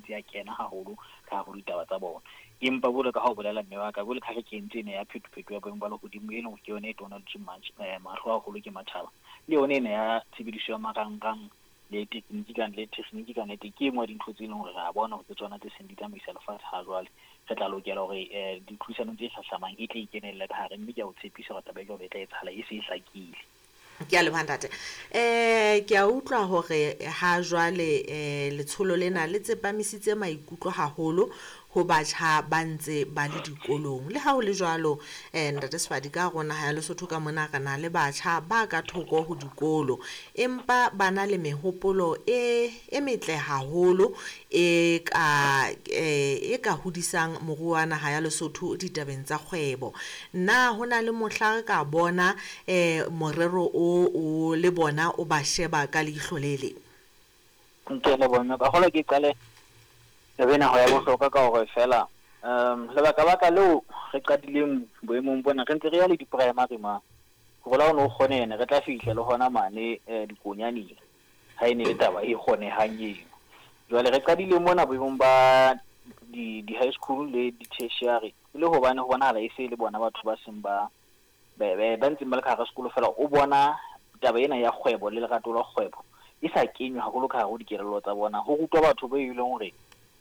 ntse ya kena haholo ka hare ho ditaba tsa bona. Empa jwalo ka ha o bolela mme wa ka, jwalo ka ha re kentse ena ya phetophetoho ya boemo ba lehodimo, e leng hore ke yona e tonaditsweng mahlo haholo ke matjhaba, le yona ena ya tshebediso ya marangrang le tekniki ka le tekgniki ka nnete ke e nngwe ya dintho tse leng hore re a bona hore ke tsona tse seng di tsamaisa lefatshe ha jwale. Re tla lokela hore ditlhodisanong tse hlahlamang e tle e kenelle ka hare, mme ke a o tshepisa hore taba e jwalo e tla etsahala e se e hlakile. Ke a leboha ntate. Ke a utlwa hore ha jwale letsholo lena le tsepamisitse maikutlo haholo ho batjha ba ntse ba le dikolong. Le ha ho le jwalo, Ntate Sefadi, ka hare ho naha ya Lesotho ka mona re na le batjha ba ka thoko ho dikolo, empa ba na le mehopolo e e metle haholo e ka e ka hodisang moruo wa naha ya Lesotho ditabeng tsa kgwebo. Na ho na le mohla re ka bona morero o o le bona o ba sheba ka leihlo le leng? Ke a leboha mme. Ka kgolwa ke qale taba ena ho ya bohlokwa ka hore feela lebaka-baka leo re qadileng boemong bona, re ntse re ya le di-primary ma. Hore le ha o no kgone ne re tla fihla le hona mane dikonyaneng ha e ne le taba e kgonehang eno. Jwale re qadile mona boemong ba di-high school le di-tertiary e le hobane ho bonahala e se e le bona batho ba seng ba ba ntseng ba le ka hara sekolo feela o bona taba ena ya kgwebo le lerato la kgwebo e sa kenywa haholo ka hare ho dikelello tsa bona. Ho rutwa batho be e leng hore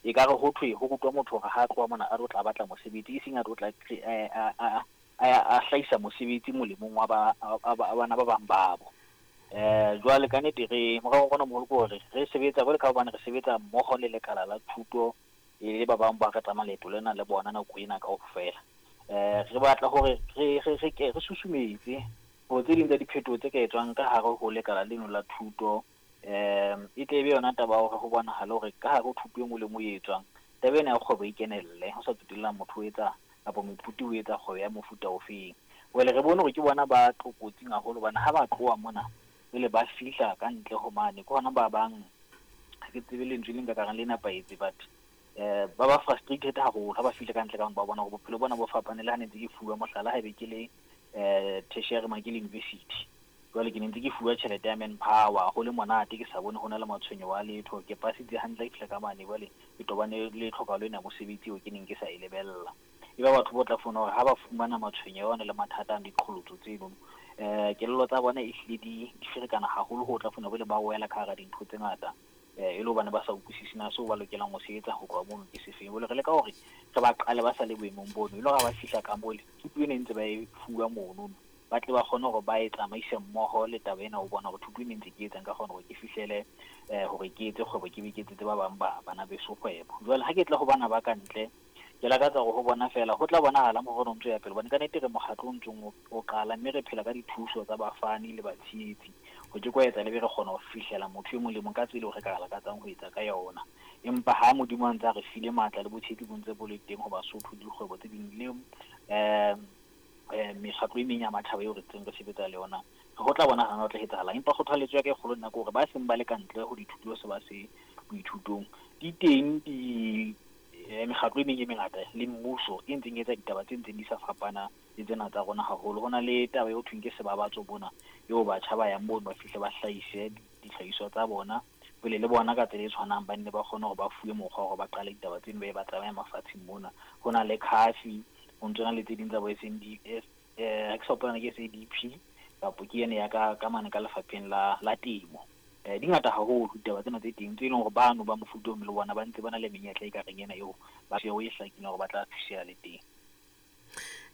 ekare ho thwe ho rutwa motho hore ha a tloha mona a tlo tla batla mosebetsi, e seng a tlo tla a hlahisa mosebetsi molemong wa ba bana ba bang babo. Jwale ka nnete re morero wa rona o moholo ke hore re sebetsa jwale ka hobane re sebetsa mmoho le lekala la thuto le ba bang ba re tsamaya leeto lena le bona nako ena kaofela. Re batla hore re re re ke re susumetse hore tse ding tsa diphetoho tse ka etswang ka hare ho lekala leno la thuto e tle e be yona taba ya hore ho bonahale hore ka hare ho thuto e nngwe le e nngwe e etswang, taba ena ya kgwebo e kenelle, ho sa tsotellang motho o etsa kapa moithuti o etsa kgwebo ya mofuta ofeng. Jwale re bone hore ke bona ba tlokotsing haholo hobane ha ba tloha mona pele ba fihla ka ntle ho mane, ke hona ba bang, ha ke tsebe lentswe le nka ka reng le nepahetse, but ba ba frustrated haholo ha ba fihla ka ntle ka ba bona hore bophelo bona bo fapane le ha ne ntse ke fuwa mohlala haebe ke le tertiary mane ke le university. Jwale ke ne ntse ke fuwa tjhelete ya manpower, ho le monate ke sa bone ho na le matshwenyeho a letho. Ke pasitse hantle ha ke fihla ka mane jwale ke tobane le tlhokahalo ena ya mosebetsi eo ke neng ke sa e lebella. E ba batho bo tla fumana hore ha ba fumana matshwenyeho ana le mathata a diqholotso tseno, kelello tsa bona ehlile di ferekana haholo ho tla fumana jwale ba wela ka hara dintho tse ngata e le hobane ba sa utlwisise na seo ba lokelang ho se etsa ho tloha mono ke sefeng. Jwale re leka hore re ba qale ba sa le boemong bono, e le hore ha ba fihla ka mole thuto ena e ntse ba e fuwa mono, ba tle ba kgone hore ba e tsamaise mmoho le taba ena ho bona hore thuto ena e ntse ke etsang ka kgona hore ke fihlele hore ke etse kgwebo, ke be ke etsetse ba bang ba bana beso kgwebo. Jwale ha ke tla ho bana ba ka ntle, ke lakatsa hore ho bona feela ho tla bonahala morero o ntso ya pele, hobane ka nnete re mokgatlo o ntsong o qala, mme re phela ka dithuso tsa bafani le batshehetsi. Ho ke kwa etsa le be re kgona ho fihlela motho e mong le mong ka tsela eo re ka lakatsang ho etsa ka yona. Empa ha Modimo a ntse a re file matla le botshehetsi bo ntse bo le teng ho Basotho le dikgwebo tse ding le mekgatlo e meng ya matjhaba eo re ntseng re sebetsa le yona, ho tla bonahala ho tla etsahalang. Empa kgothaletso ya ka e kgolo nna ke hore ba seng ba le ka ntle ho dithuto se ba se boithutong, di teng di mekgatlo e meng e mengata le mmuso e ntseng e etsa ditaba tse ntseng di sa fapana le tsena tsa rona haholo. Ho na le taba eo thweng ke sebabatso mona, eo batjha ba yang mono ba fihle ba hlahise dihlahiswa tsa bona pele le bona ka tsela e tshwanang ba nne ba kgone hore ba fuwe mokgwa hore ba qale ditaba tseno ba ye ba tsamaye mafatsheng mona. Ho na le CAFI, ho ntso na le tse ding tsa bo SNDS, ha ke sa hopola na ke SADP kapo ke ene ya ka mane ka lefapheng la temo. Di ngata haholo ditaba tsena tse teng tse leng hore bano ba mofuta o le bona ba ntse ba na le menyetla e ka reng ena eo ba e hlakileng hore ba tla thuseha le teng.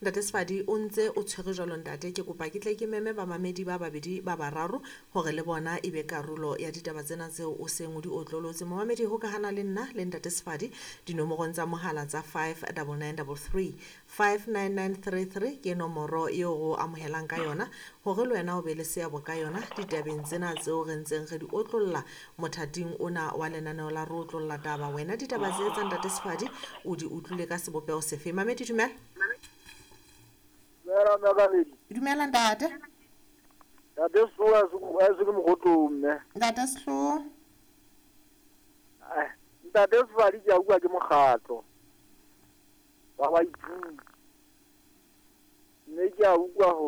Ntate Sefadi, o ntse o tshwere jwalo ntate, ke kopa ke tle ke meme bamamedi ba babedi ba bararo hore le bona e be karolo ya ditaba tsena tseo o seng o di otlolotse. Momamedi hokahana le nna le Ntate Sefadi dinomorong tsa mohala tsa 59933 59933 ke nomoro eo re o amohelang ka yona hore le wena o be le seabo ka yona ditabeng tsena tseo re ntseng re di otlolla mothating ona wa lenaneo la re otlolla taba. Wena ditaba tse tsa Ntate Sefadi o di utlwile ka sebopeho sefe? Mamedi, dumela. Dumela mme Kabedi. Dumela ntate. Ntate Sehloho a se ke Mokgotlong mme. Ntate Sehloho. Ntate Sefadi ke a bua ke mokgatlo wa baithuti. Mme ke a utlwa hore